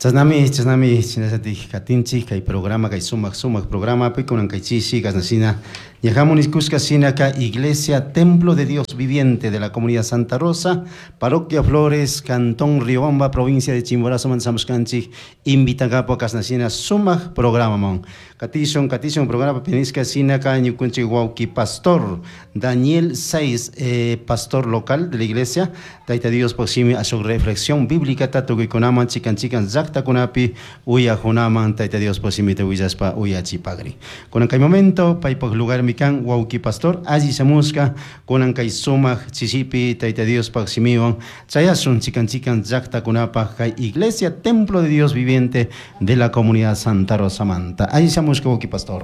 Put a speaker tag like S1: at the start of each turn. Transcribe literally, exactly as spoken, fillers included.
S1: Chashnami, chashnami, shinallatik katinchik kay programa, kay sumak sumak programapi kunan kay chishi kashnashina ñajamun nishkushka shinaka Iglesia Templo de Dios Viviente de la Comunidad Santa Rosa, Parroquia Flores, Cantón Riobamba, provincia de Chimborazo shamushkanchik invitankapak kashnashina sumak programaman. Katishun, katishun programa nishka shinaka ñukunchik wawki pastor Daniel Saiz, eh, pastor local de la iglesia, Tayta Diospaj shimi ashuk reflexión bíblica tukuykunaman chikan chikan llaktakunapi uyajunaman Tayta Diospaj shimita willashpa uyachipagri. Kunan kay momento paypaj lugarmi kan wawki pastor alli shamushka kunan kay sumak chishipi Tayta Diospaj shimiwan chayashun chikan chikan llaktakunapaj kay Iglesia Templo de Dios Viviente de la Comunidad Santa Rosa manta. Alli shamushka wawki pastor.